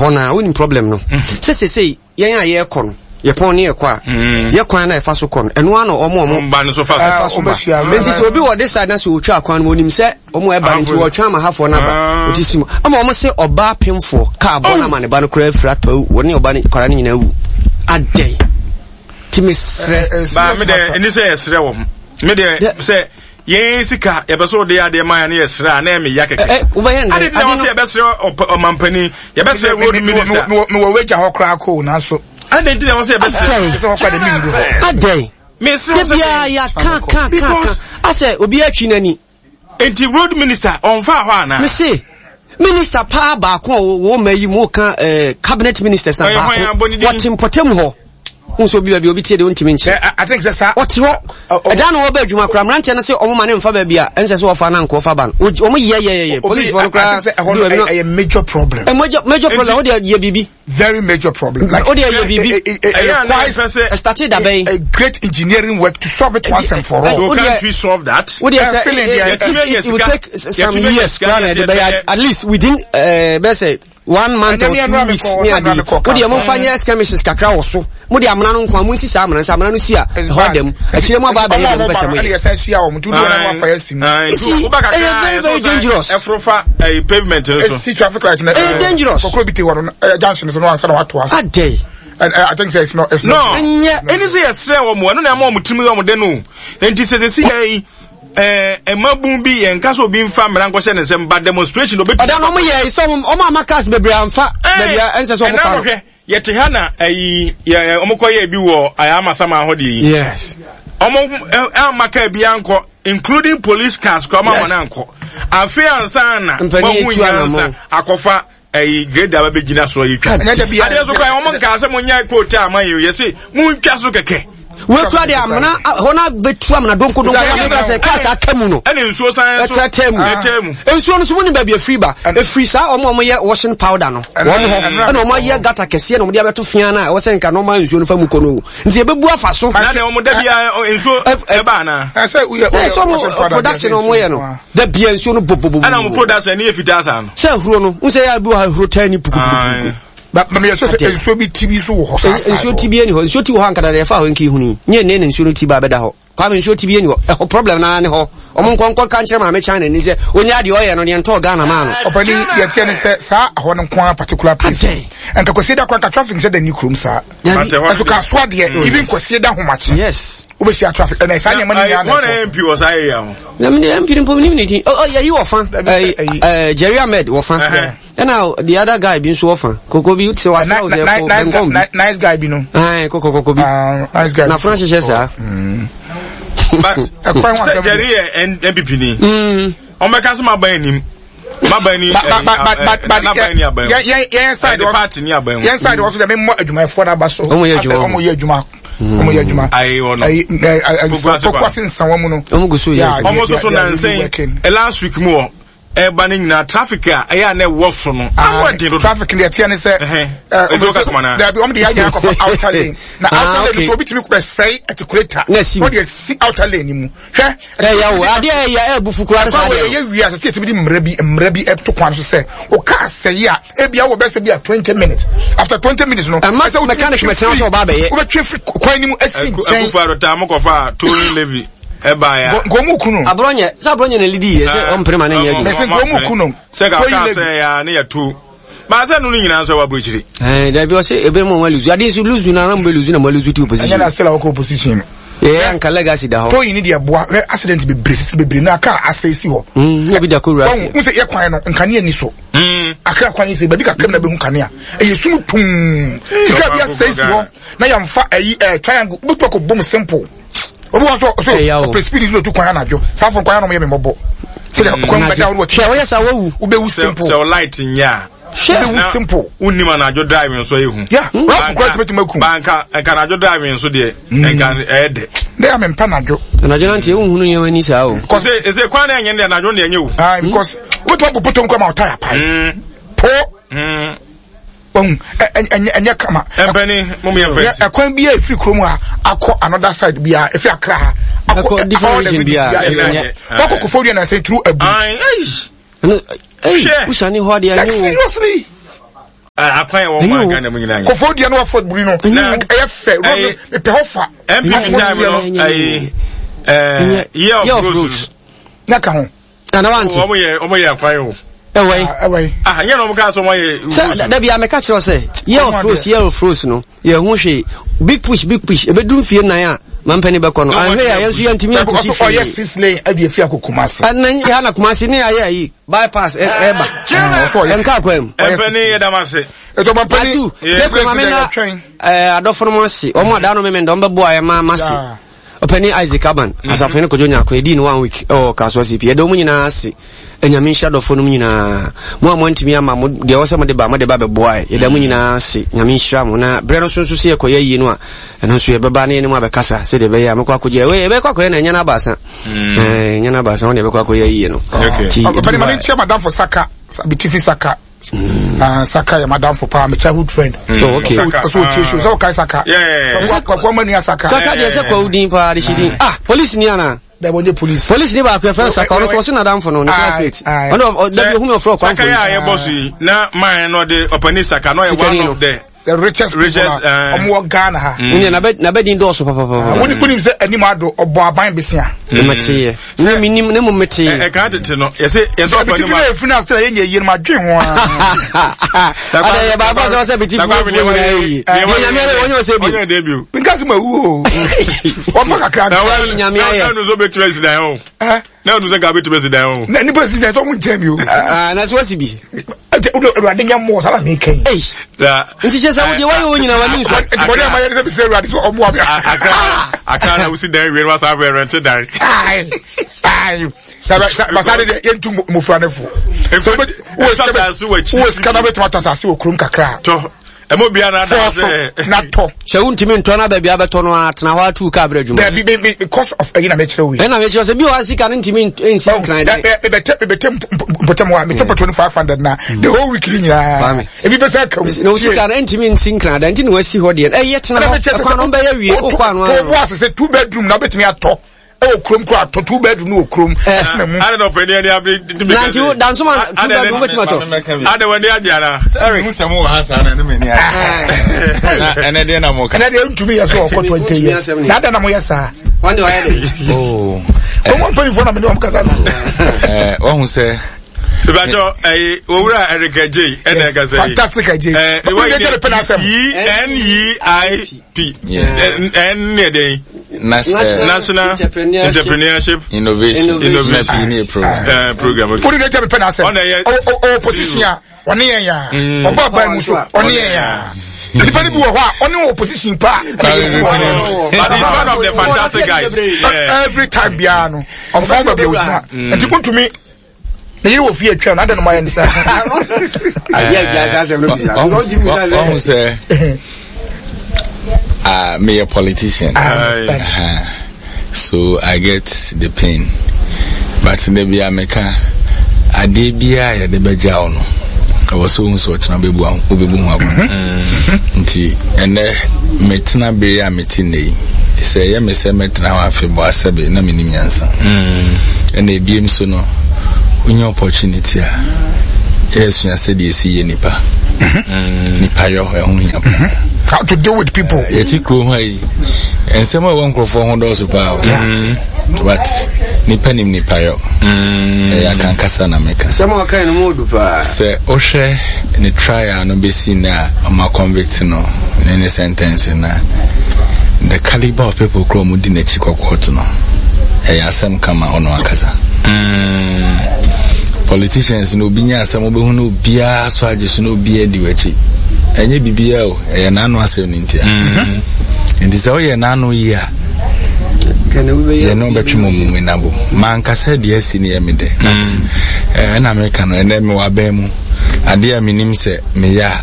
Ɛhɔ no a wonim problem no. Sɛ sesei yɛn a yɛrekɔ no, yɛpɔn ne yɛkɔ a, yɛ kwan na ɛfa so kɔ no, ɛno ara na wɔn a wɔn ba no so fa so. so ba. Nti sɛ obi wɔ this side na sɛ otwa kwan no, onim sɛ wɔn ɛba no nti wɔtwa ama hafoɔ no aba. Oti si mu. Ama wɔn se ɔbaa pemfoɔ kaa bɔ no ama ne ba no koraa afiri atɔ awu, wɔne ɔba no kwadaa no nyinaa awu. Adɛn? Ti mesrɛ. Ba me deɛ ɛni sɛ yɛsrɛ wɔn. Me deɛ sɛ yɛn sika yɛpɛ sɛ ɔde adeɛ ma yɛn no yɛsrɛ a na ɛmɛ ya kɛkɛ. Ɛ wobɛyɛ ndɛ. Ade ti na wɔn sɛ yɛbɛsrɛ ɔmampanin yɛbɛsrɛ road minister. Mewɔ wagya hɔ koraa koo nanso. Ade ti na wɔn sɛ yɛbɛsrɛ. Adɛn. Mesrɛ sɛ. Debia yɛ ka ka ka ka asɛ obi atwi n'ani. Nti road minister ɔnfa hɔ ana. Mese minister paa baako a wɔn mma yi mu ka eh, cabinet ministers na baako wɔte mpɔtam hɔ nso obi baabi obi tie de ontumi nkyerɛ. I think sɛ saa. Ɔte hɔ ɛdan na wɔbɛ adwuma koraa mmeranteɛ no sɛ wɔn ma ne nfa baabi a ɛnsɛ sɛ wɔfa na nkɔfa ba no wɔn yɛ yɛ yɛ yɛ polisifoɔ no koraa. Ɛyɛ major problem. Major major problem o de yɛ biribi. Very major problem. Like, o de yɛ biribi. It requires ɛstate dabɛn. A great engineering work to solve it once and for all. So can't we solve that? O de sɛ it will take some years koraa na ɛde bɛyɛ at least within bɛ sɛ one month or 2 weeks ne ade o deɛ momfa nyɛ skirmishes kakra wɔ so mo de amena no nko a monsi saa amena sɛ amena no si a ɛhɔ ada mu akyire mu aba abɛyɛ deɛ mopɛ sɛ moyɛ. See, ɛyɛ very very dangerous. Ɛforofa ɛyɛ pavement no so. Esi traffic light na. Ɛyɛ dangerous. Kɔkɔrɔ bi te hɔ no ɛyɛ junction so no ansa na wato ase. Adɛn. And I think say it's not it's not. No, ɛni sɛ yɛsrɛ wɔn mo ɛno na ɛma wɔn tirim yɛ wɔn dɛ no nti sɛ sɛ si yɛ yi ɛɛ mmabun bi yɛn nka sɛ obi nfa mmara nkɔhyɛ ne nsam ba demonstration obi. Ɔda no ɔmo yɛ sɛ ɔmo ɔmo ama cars bebree anfa baabi a ɛnsɛ sɛ ɔmo fa no. Ɛna yɛte ha na ɛyi yɛ ɔmo kɔ yɛ bi wɔ ɛyɛ amasama hɔ deɛ yi. Yes. Ɔmo ama kaa bi ankɔ including police cars kora ɔmo ama no ankɔ afei ansa na Mpanin wɔn etu nyansa anamɔ. akɔfa ɛyi grade aba bɛ gyina so ɛyi twa. Adeɛ so kora wɔn nkaa sɛ mo nyɛ kootu ama yi yɛ se mo ntwa so kɛkɛ. Wekura de amena hɔ na bɛtu amena donkodonko na meka sɛ kaa saa ka mu no. Ɛne nsuo san so ɛtɛ mu. Ɛtɛ mu. Nsuo no so mu ni baabi efiri ba. Efiri saa wɔn a wɔyɛ washing powder no. Wɔn hɔ ɛna wɔn ayɛ gata kɛseɛ na wɔn de abɛto fia na ɛwɔ sɛ nka nɔɔma nsuo no fa mu kɔ no. Nti ebebu afa so. Na de wɔn da bia nsuo ɛba ana. Ɛsɛ woyɛ Ɛ sɛ wɔn production wɔn yɛ no. Da bia nsuo no bobobobo. Ɛna wɔn production ne yɛ fitaa saa no. Sɛ ahuro no, n sɛ yɛ abi wɔ ha ahuro taa ni pukupukupuku. Ba ba meyɛ sɛ sɛ nsuo bi ti bi so wɔ hɔ saa saa. Nsuo ti bi ani hɔ. Nsuo ti wɔ hɔ ankada deɛ ɛfa hɔ nka ehunu yi. Nyɛ nne na nsuo no ti ba abɛda hɔ. Kwame nsuo ti bi ani hɔ. Ɛhɔ problem naa ne hɔ. Ɔmo nkɔ nkɔ ka nkyerɛ maame China ni sɛ onye adeɛ ɔyɛ no deɛ ntɔɔ Ghana maa no. Ɔpani deɛ teɛ ne sɛ saa ɛhɔ no nko ara particular place. Adɛn? Nka Kwasieda da koraa nka traffic nhyɛ da nni kurom saa. Dabi. Ɛso ka asoa deɛ even Kwasieda ahomakye. Yes. Wobɛhyia traffic ɛnɛ saa nneɛma no nyinaa na ɛkɔ. Wɔn na MP wɔ saa area ho. Na mi de MP no mpo mi nim ne din. Ɔ yɛyi wɔ fa. Ɛɛ Jerry Ahmed wɔ fa. Ɛna the other guy bi nso wɔ fa. Koko bi sɛ wasa wo sɛ kɔ bɛnkɔn bi. Nice guy bi no. Ɛɛ koko koko bi. Nice guy. Na funa hyehyɛ saa. But sɛ Jerry yɛ NPP ni. Wɔn bɛka sɛ ma ban anim. Maban ni ɛɛ ni aban mu. Yɛn side wɔ party ni aban mu. Yɛn side wɔ so dɛ mi mɔ adwumayɛfoɔ n'aba so. Wɔn yɛ adwuma. Wɔn yɛ adwuma. Wɔn yɛ adwuma. Ayi wɔ no. Ayi ɛɛ Pokuase nsanwa mu no. Wɔn gu so yɛ. Wɔn nso so nansan last week mu wɔ ɛba ne nyinaa traffic a ɛyɛ a na ɛwɔ so no. Ano ɛden dodo. Traffic deɛ ɛteɛ ne sɛ. Ɛɛ dabi wɔn de yɛ ayɛ akɔfa outer lane na outer lane so obi tumi kɔ sɛe atikuleta. Na esi mu. Wɔde esi outer lane mu. Hwɛ. Ɛyɛ o adeɛ ɛyɛ ɛbu fukura ne saa deɛ. Ɛyɛ yɛ wia sɛ sɛ yɛtumi de mmara bi mmara bi ɛto kwan so sɛ o kaa sɛyi a ebi awɔ bɛsɛ bi a 20 minutes, after 20 minutes no. Ɛma mechanic mɛtena sɛ ɔba abɛyɛ. Wobɛtwe firi kwan ni mu esi nkyɛn. Akufo Addo taa mo kɔfa tolling levy ɛba ya. Nkɔmu kunu. Aborɔnyɛ sɛ aborɔnyɛ na lidi yɛ sɛ ɔmpere ma ne nyɛ adwuma. Mɛsɛ nkɔmu kunu. Sɛ ka kaa sɛ ya ne yɛ tu. Baasa no nyinaa nso ɛwɔ aburokyire. Ɛɛ dabi ɔsɛ ebe mu wɔn luzu adi nso luzu na anam bɛ luzu na mo luzu ti opposition. Ɛnyɛ na still a wɔkɔ opposition no. Yɛ anka legacy da hɔ. Tɔyin ni deɛ boa hwɛ accident bebree sisi bebree na kaa asɛe si hɔ. Ne bi da kɔ wura ase. N sɛ yɛ kwan no nkanea ni so. Akra kwan yi sɛ baabi kakra mu na bɛhu kanea. Ɛyɛ sum tum. Sika bi asɛe si hɔ na yɛmfa ɛyi ɛɛ triangle wobɛtumi akɔ bom simple. Obi wɔ so so ɔpɛ speed so otu kwan anadwo. Saa fo kwan anam yɛ me mmɔbɔ. Sɛdeɛ kwan bɛda wo no wɔte. Hwɛ wɔyɛ saa wawu. Wobɛwu simple. Sɛ light nyɛ a. Hwɛ. Wobɛwu simple. Wonnim anadwo driving nso ɛyɛ hu. Yeah, rap kura tumi tumi aku. Ba nka nka anadwo driving nso deɛ nka ɛyɛ dɛ. Ne yà mí mpa anadwo. Anadwo nante ehu hunu nneɛma ni saa o. Kɔsɛ ese kwan na ɛnyɛ ne anadwo na ɛnyɛ o. Ah, because wotumi abɔ potom kɔ ma ɔta yà pae. Po. Ohun ɛnyɛ ɛnyɛ kama. Ɛmpɛni mo mi yɛ fɛ. Ɛkwan bi a efiri kurom ha akɔ another side bi a efiri Accra ha. Akɔ different region bi a ɛnyɛ. Wakɔ Koforidua na sɛ turu abu. Ɛyi wusani hɔ adeɛ Like ɛnyɛ o. seriously. Akwan akwan yɛ wɔn mu Ghana mu nyinaa. Kofo deɛ no wafɔ buri no. Ɛyɛ fɛ. Mepɛ hɔ fa. NPP time no ɛyi ɛɛ year of rose. Na ka ho. Ana wante. Wɔn yɛ wɔn yɛ akwan o. Ɛwɔ yi. Ɛwɔ yi. Ah nyɛ na wɔn kaa sɛ wɔn yɛ. Sɛ dabi a mɛka kyerɛ sɛ year of rose year of rose no yɛ ho hwee big push big push ebedu mfie nan a mampɛni bɛkɔ no ahwɛ yɛ yɛn nso yɛntumi apusi hwee. Ɔyɛ six lane ɛde efi akɔ Kumasi. Ɛnna yɛ na Kumasi ne ayɛ ayi bypass ɛɛba. Ɛnka akwan mu. Ɛmpɛni yɛ dam ase. Ɛtɔ mampɛni. Atu yɛ maame na ɛɛ adɔfo no mo ase wɔn a daano mímɛ ndɔn bɛ bo ayɛ ma ma se. Ɔpanin Isaac Aban, Asafohene Kojo Nyarko, yɛdii no one week wɔ Kasoa CP. Yɛda wɔn nyinaa ase. Anyame nhyira dɔfoɔ nom nyinaa. Mo a moantumi amma, mo deɛ ɛwɔ sɛ mode ba, mode ba bɛboaɛ. Yɛda mo nyinaa ase. Nyame nhyira mo. Na berɛ no so nso sɛ yɛkɔyɛ ayie no a, ɛno nso yɛbɛba na yɛne mo abɛkasa sɛdeɛ ɛbɛyɛ a mɛkɔ akɔgye. Wei yɛbɛkɔ akɔyɛ no ɛnyɛ no abaasa. Ɛɛ, ɛnyɛ no abaasa, wɔn deɛ yɛbɛkɔ akɔyɛ ayie no. Nti, Ɔpanin ma menkyia madamfo Saka, Bitifi Saka. Ah, Saka yɛ madamfo paa, my childhood friend. Mm. Oh, okay. Saka. So, so, so, so, okay, Saka. Yeah. Kwaku Amani Saka. Saka deɛ sɛ kwawu din paa de hyɛ din. Ah, police ni ana? Dɛbɛ onye police. Police ni baako yɛfrɛ no Saka, ɔno so ɔso nadamfo no, ne classmate. Ɔno dabi ohun mi ɔfrɛ ɔkwanfo. Saka yɛ a yɛbɔ so yi, na man no ɔde ɔpani Saka, na ɔyɛ one of the the richest people a ɔmo wɔ Ghana ha. Mm. Nea n'abɛdin dɔɔso papapapa. Wọ́n ní sɛ anim ado ɔbɔ aban besia. Mɛte yɛ. Ne mi nim ne mu mɛte yɛ. Ɛka tete no yɛsɛ yɛsɛ ɔfɔ ne mu. Ɛbi ti fi na efunu ase na yɛ nyɛ yie no ma dwe ho aa. Ada yɛ baako sɛ ɔsɛ bi ti fi na efunu nyɛ yie. Yɛ nyame ayɛ wɔnyɛ ɔsɛ bi. Ɔnyɛ de bi o. Nka sɛ ma wu o. Wɔfa kakra. Na wɔn nyame ayɛ. Na wɔn nso bɛ tuma si dan o. Na ɔno sɛ nka bɛtumi asi dan o. Na nipa si dan sɛ ɔmo nkyɛn mi o. Ah, na so wasi bi. Ɛtɛ o de awurade nyɛ mmoɔ sábà mi kɛn. Eyi. Nti kyɛ sɛ wodeɛ wayɛ wo nyina w'ani nsɔ. Nti bɔde ama yɛ ne sɛ bisɛ awurade sɛ ɔmmoa me. Akra akra na wosi dan wie no wasa abɛ rɛnte dan. Ayi ayi. Basa de deɛ yɛntu mmofra no fo. Wowɔ sika na wobɛtumi atɔ asase wɔ kurom kakra. Tɔ ɛmɔ bia na ada sɛ. na tɔ. sɛ wontumi ntɔ na baabi abɛtɔ no a tena hɔ atu kaa berɛ adwuma. Dabi me me because of ɛyi na mekyerɛ wei. Ɛna mekyerɛ sɛ bi wɔ sika no ntumi nsi nkran dan. Mebɛtɛ mebɛtɛ mpɔtam hɔ a metɔ pɔtɔ no 500 na the whole week ni nyinaa. Ebi bɛ sɛ ka mu. Na sika no ntumi nsi nkran dan nti na wasi hɔ deɛ. Ɛyɛ tena hɔ ɛkwan no bɛyɛ wie wokɔ ano ano. To bo ase sɛ two bedroom na wobɛtumi atɔ. Ɛwɔ kurom kura atɔ two bedroom no wɔ kurom ɛtena mu. Ada na ɔpɛni ɛni abiri tumi kɛse. Nanti dansoma two bedroom wobɛtumi atɔ. Ada wɔ ni agye ara. Eric n sɛm wɔ ha saa na ɛne mɛ ni agye. Na ɛnɛ deɛ na mo ka. Ɛnɛ deɛ ntumi yɛ so ɔkɔ 20 years. Na ada na mo yɛ saa. Wɔn de ɔyɛ de. Oh. Wɔn mpanyinfoɔ na mi ni wɔn kasa no. Ɛɛ wɔn sɛ. Ìbàjọ́ ẹ̀yẹ owurà Eric Adjei ẹ̀na ẹ̀ka sẹ́yìn. Fantastic Adjei. Ẹ̀ ẹ̀ E N E I P. N yɛ dɛn? National Entrepreneurship Innovation Innovation Program. Program. Okay. Wọ́n ní ẹja mi pẹ́ n'asẹ́m. Ọ̀nà yẹ Ọ̀ opposition a ọ̀ne yẹn ya. Ọba aban mu so ọ̀ne yẹn ya. Nipa ni bi wɔ hɔ a ɔne wɔ opposition pa. But he's one of the fantastic guys. Yeah. Every time biara no ɔfɔn baabi a ogyina. Nti kuntumi ne yere wɔ fie atwa no adɛn no mayɛ ne saa. Ɔhu sɛ meyɛ politician. Uh, so I get the pain. But da bia meka adeɛ biara yɛde bɛgya wo no ɛwɔ sɛ wohu sɛ ɔkyena wobɛbu wobɛbu ho akɔnɔ nti ɛnɛ metena bere a mete nnɛ yi sɛ ɛyɛ me sɛ mɛtena hɔ afebɔɔ asɛbe na mennim nyansa. Ɛna ebiem so no, wonya opportunity a, yɛsua sɛdeɛ ɛsi yɛ nipa. Nipa yɔ, ɛho hia paa. How to deal with people. Yɛte kuro ho yi, nsɛm a ɛwɔ nkurɔfoɔ ho dɔɔso paa o. But nipa nim nipa yɔ. Ɛyɛ akankasa na meka. Sɛm a ɔkae no mu odu paa. Sɛ wohwɛ ne trial no bɛsi nnɛ a ɔma convict no ne ne sentence no a, the caliber of people kora ɔmo di n'akyi kɔ court no, ɛyɛ asɛm ka ma ɔno ankasa. Mm. Politicians no obi nya asɛm wobɛhu no obiara so agye so na obiara di w'akyi. Ɛnyɛ biribiara o, ɛyɛ n'ano asɛm no ntia. Mm. Nti sɛ woyɛ n'ano yie a, yɛne wobɛtwe mu mu nabo. Mankasa deɛ asi no yɛ me dɛ. But mm. eh, ɛna meka no ɛnɛ mewɔ abɛn mu. Adeɛ a menim sɛ meyɛ a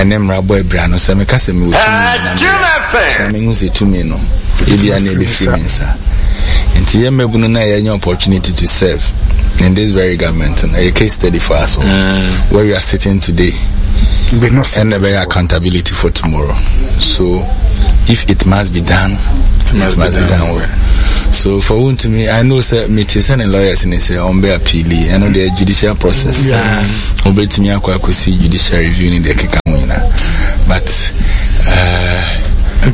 ɛne mmara bɔ abira no, sɛ meka sɛ mewɔ tumi na meyɛ a, mehu sɛ tumi no ebia na ɛbɛfiri me nsa. Nti yɛ mmabunu no a yɛanya opportunity to serve in this very government no, ɛyɛ case study for us all. Mm. Where we are sitting today, and ɛbɛyɛ accountability for tomorrow. So if it must be done, it must be done well. So for Wontumi, I know sɛ mete sɛ ne lawyers ne sɛ ɔmbɛ appeal, ɛno deɛ judicial process. Wobɛtumi akɔ akɔsi judicial review ne deɛ keka ho nyinaa. But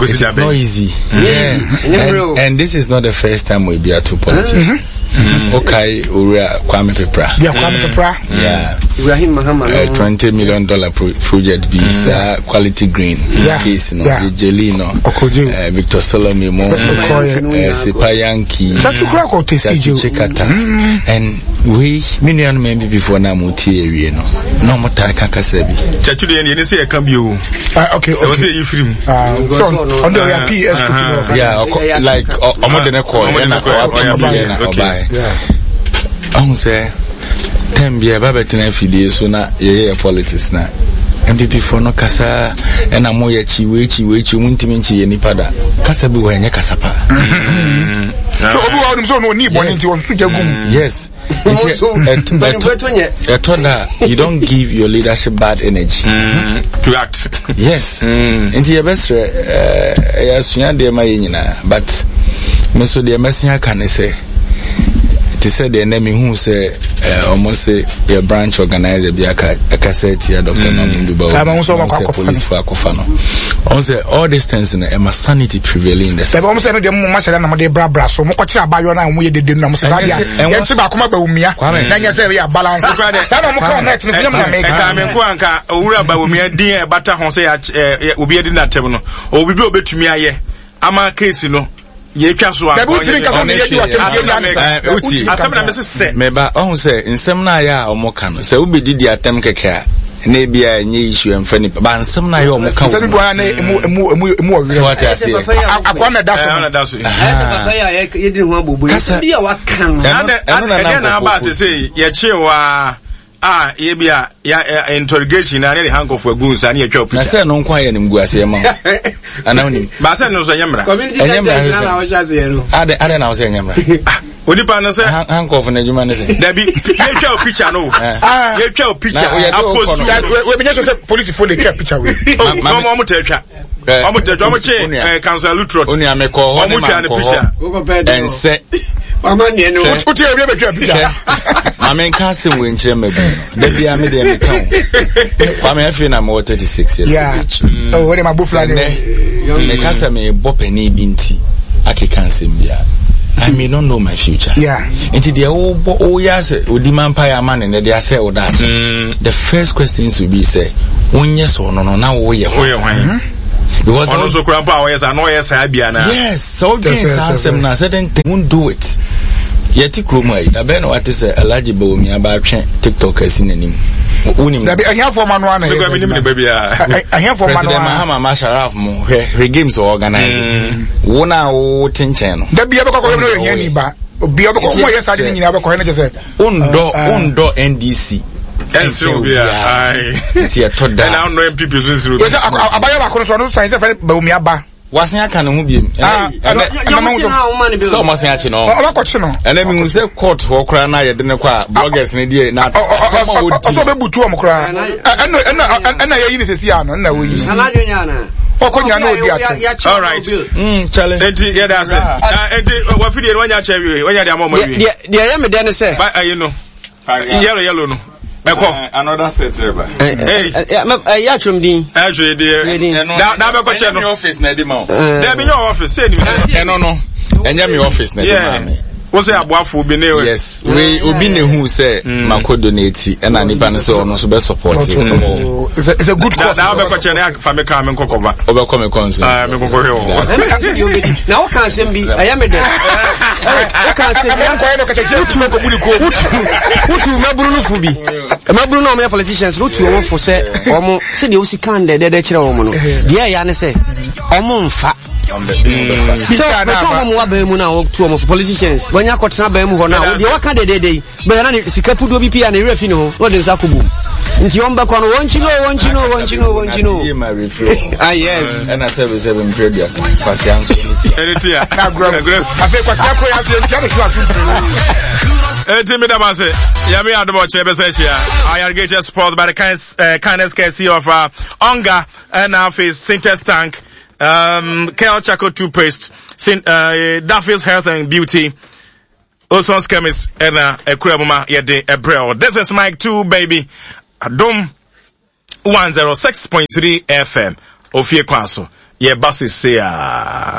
it is not easy. Mm. Yeah. And, and this is not the first time we be at two politicians. Mm. Okay, Owura Kwame Peprah. Yeah, Kwame mm. Peprah. Yeah. Ibrahim Mahama. $20 million pro project be mm. quality green. Yeah. Case no. Yeah. Jelly no. Victor Solomon mo. Sipa Yankee. Chachu Chikata. And we, me nuanom NPP foɔ no a motie awie no, na ɔmo taa ka kasa bi. Kyɛtwi deɛ yɛne sɛ yɛka bio. Ah, okay, okay. Ɛwɔ sɛ yɛyi firi mu. Ah, so ɔno deɛ ɔyɛ PS uh-huh. Yeah, ɔkɔ like ɔmo de ne kɔ ɛna ɔapɛ bi ɛna ɔbaeɛ. Ɔho sɛ tɛm bi ɛba bɛtena afidie so na yɛyɛ politics na NPP foɔ no kasa ɛna mo yɛ kyi wei kyi wei kyi ɔmo ntumi nkyi yɛ nipa da kasa bi wɔ ɛnyɛ kasa pa. So obi wɔ hɔ nom sɛ ɔno ɔni bɔne nti ɔsusu gya gum. Yes. Ɛtɔ da you don't give your leadership bad energy. To act. Yes. Nti yɛbɛsrɛ ɛyɛ asua deɛ ma yɛ nyinaa but me so deɛ mɛsen aka ne sɛ te sɛ deɛ nɛ mehu sɛ ɔmo se yɛ branch organizer bi aka akasa atia Dr. Mahmoud Bawumia sɛ police fo akɔfa no. Ɔmo sɛ all these things no ɛma sanity prevailing in the system. Dabi ɔmo sɛ ɛno deɛ mo ma hyɛda na mo de brabra so mo kɔkyerɛ abayewa no a ɔmo yɛ dede no na mo sɛ saa deɛ yɛn kye baako ma Bawumia na nyɛ sɛ ɛyɛ balance saa na ɔmo ka ɔmo ɛtene so nyɛ mo na meka. Ɛka me nko anka owura Bawumia din a ɛbata ho sɛ obi adi n'atɛm no ɔwɔ biribi a obetumi ayɛ ama case no yɛtwa so a. Dabi wotumi nka sɛ ɔno yɛ di w'atɛm yɛ di ansa. Asɛm na mese sɛ. Meba ɔho sɛ nsɛm no ayɛ a ɔmo ka no sɛ wobɛdidi atɛm kɛkɛ a na ebi a ɛnyɛ issue ɛmfa nipa ba nsɛm no ayɛ ɔmo ka wɔ mu. Nsɛm bi wɔ na emu emu emu emu wɔ werɛ. Wate aseɛ. Akoa na ɛda so no. Ɛsɛ papa yi a yɛdi ho abobo yi. Kasa bi a waka no. Ɛno na ɛdeɛ na aba asese yɛkye waa a yɛ bi a ya interrogation na ne de handcuff agu nsa ne yɛtwa picture. Na sɛ no nko ayɛ nim gu aseɛ ma wo. Ana wonim. Ba sɛ no nso ɛnyɛ mmara. Community center na wɔhyɛ aseɛ no. Adɛn adɛn na wo sɛ ɛnyɛ mmara. Onipa no sɛ. Handcuff no adwuma ne sɛ. Dabi yɛtwa o picture no. Yɛtwa o picture. Apost. Wei bi nyɛ sɛ polisi fo de twa picture wei. Na ɔmo tɛ twa. Ɔmo tɛ twa ɔmo kye council Lutrot. Onua mi kɔ hɔ ne ma nkɔ hɔ. Ɛnsɛ. Wama neɛ no. Wote ebi bɛtwa picture. Maame nka asɛm wei nkyerɛ mma bi no. Da biara me deɛ meka o. Kwame afei na mewɔ 36 years of age. Oh, wode ma bofra ne. Sɛ meka sɛ mebɔ panin bi nti akeka nsɛm bi a. I may not know my future. Yeah. Nti deɛ wobɔ woyɛ asɛ odi ma mpaeɛ ama ne ne de asɛ wo daakye. The first question will be sɛ wonyɛ sɛ ɔno no na woyɛ hwan. Because ɔno nso kura mpo a ɔyɛ saa na ɔyɛ saa bi ana. Yes, sɛ wodwen saa asɛm no a certain thing won't do it. Yɛte kurom ha yi, da bɛn na wate sɛ Alhaji Bawumia ba atwe TikTok asi n'anim? Wonim? Dabi ahiafoɔ ma no ana yɛ. Menim ne ba biara. Ahiafoɔ ma no ana. President Mahama Masharaf mo hwɛ hwɛ games wɔ organize. Wo na wo te nkyɛn no. Dabi abɛkɔ kɔhwɛ no yɛ hiani ba. Obi abɛkɔ ɔmo yɛ saa de ne nyinaa abɛkɔ hwɛ no kyɛ sɛ. Wondɔ wondɔ NDC. Ɛnsere obiara. Nti ɛtɔ da. Ɛna wondɔ NPP so nsere obiara. Abayɛ baako no so ɔno so san sɛ fɛn Bawumia ba. Wasen aka ne ho biem. Sɛ ɔmo asen akye no. Ɔmo akɔkye no. Ɛnɛ mi hu sɛ court hɔ koraa na yɛde ne kɔ a bloggers ne deɛ na asɛm a wɔdi. Ɔsɛ ɔbɛbutu ɔmo koraa. Ɛna ɛna ɛna yɛyi ne sisi ano ɛna wɔyi. Ɔkɔ nyina na ɔdi ate. All right. Chale. Enti yɛ da ase. Enti wafidie no wanya kyɛ wie wanya de ama ɔmo awie. Deɛ ɛyɛ me dɛ ne sɛ. Ba ayi no. Yellow yellow no. Ɛkɔ. Another set reba. Ɛyɛ atwom din. Ɛtwe deɛ. Da da bɛkɔ kyɛ no. Ɛnyɛ mi office na ɛdi ma o. Dɛbi nyɛ office sɛ ni. Ɛno no. Ɛnyɛ mi office na ɛdi ma mi. Wo sɛ aboafo bi ne. Yes. Wei obi na ehu sɛ mako donate ɛna nipa no sɛ ɔno nso bɛ support. It's a good cause. Da bɛkɔ kyɛ ne fa me kaa me nkɔ kɔva. Ɔbɛkɔ me kɔ nso. Ah me nkɔkɔ hwɛ wɔ. Na wo ka asɛm bi ɛyɛ me dɛ. Wo ka asɛm bi. Wotu mmabunu no fo bi. Mmabunu no a wɔyɛ politicians no wotu wɔn fo sɛ wɔn sɛdeɛ wosi kan dɛdɛdɛ kyerɛ wɔn no deɛ ɛyɛ ne sɛ wɔn mfa. Sɛ bɛtɔ wɔn wɔ abɛn mu na wɔtu wɔn fo politicians wɔnya akɔtena abɛn mu hɔ na deɛ waka dɛdɛdɛ yi bɛyɛ na ne sika puduo bi pii a ne werɛ fi ne ho na ɔde nsa akɔ bom nti wɔn bɛkɔ no wɔn kyi no wɔn kyi no wɔn kyi no wɔn kyi no ah yes. Ɛna sɛbi sɛbi mpere duasa kwasia nso ne ti. Ɛne ti a. Afei kwasia koro yɛ afei ntia ne so aso mfiri. Eti mi daba se yami adum ɔkyerɛ bɛsɛ ahyia ayargated sport by the kind, kindness courtesy of Onga ɛna afei Sintex tank Kel charcoal toothpaste Sin, Daffy's health and beauty. Oson's chemist ɛna ɛkura mu ma yɛde ɛbrɛ o. This is Mike 2 baby. Adum. 106.3 FM. Ofie kwan so. Yɛba sese a.